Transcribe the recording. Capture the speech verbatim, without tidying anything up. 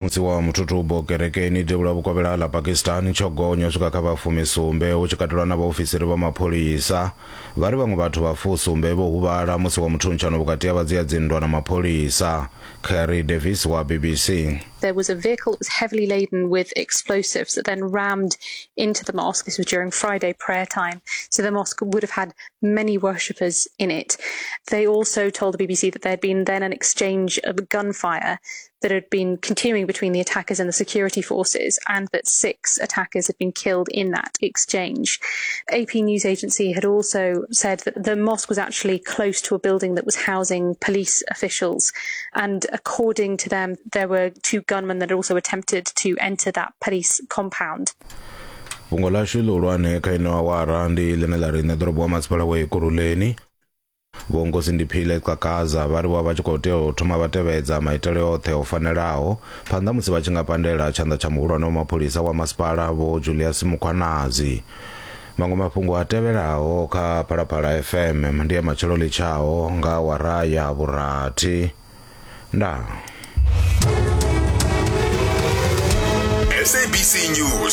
Musi wa muthuthubo kerekeni devhula vhukovhela ḽa Pakistan tsho gonya u swika kha vha fumisumbe hu tshi katelwa na vhaofisiri vha mapholisa. Vha ri vhaṅwe vhathu vha fusumbe vho huvhala musi wa muthuntshano vhukati ha vhadzia dzinndwa na mapholisa. Kerry Davis wa B B C. There was a vehicle that was heavily laden with explosives that then rammed into the mosque. This was during Friday prayer time. So the mosque would have had many worshippers in it. They also told the B B C that there had been then an exchange of gunfire that had been continuing between the attackers and the security forces, and that six attackers had been killed in that exchange. A P News Agency had also said that the mosque was actually close to a building that was housing police officials. And according to them, there were two gunmen that had also attempted to enter that police compound. Fhungo ḽashu ḽihulwane kha ino awara ndi ḽine ḽa ri nṋe ḓorobo wa masipala wa Ekurhuleni Vho Nkosindiphile Xhakaza vha ri vho vha tshi khou tea u thoma vha tevhedza maitele oṱhe o fanelaho phanḓa musi vha tshi nga pandela tshanḓa tsha muhulwane wa mapholisa wa masipala Vho Julius Mkhwanazi. Maṅwe mafhungo a tevhelaho kha Phalaphala F M ndi ya matshelo ḽitshaho nga awara ya vhurathi. Ndaa. S A B C News.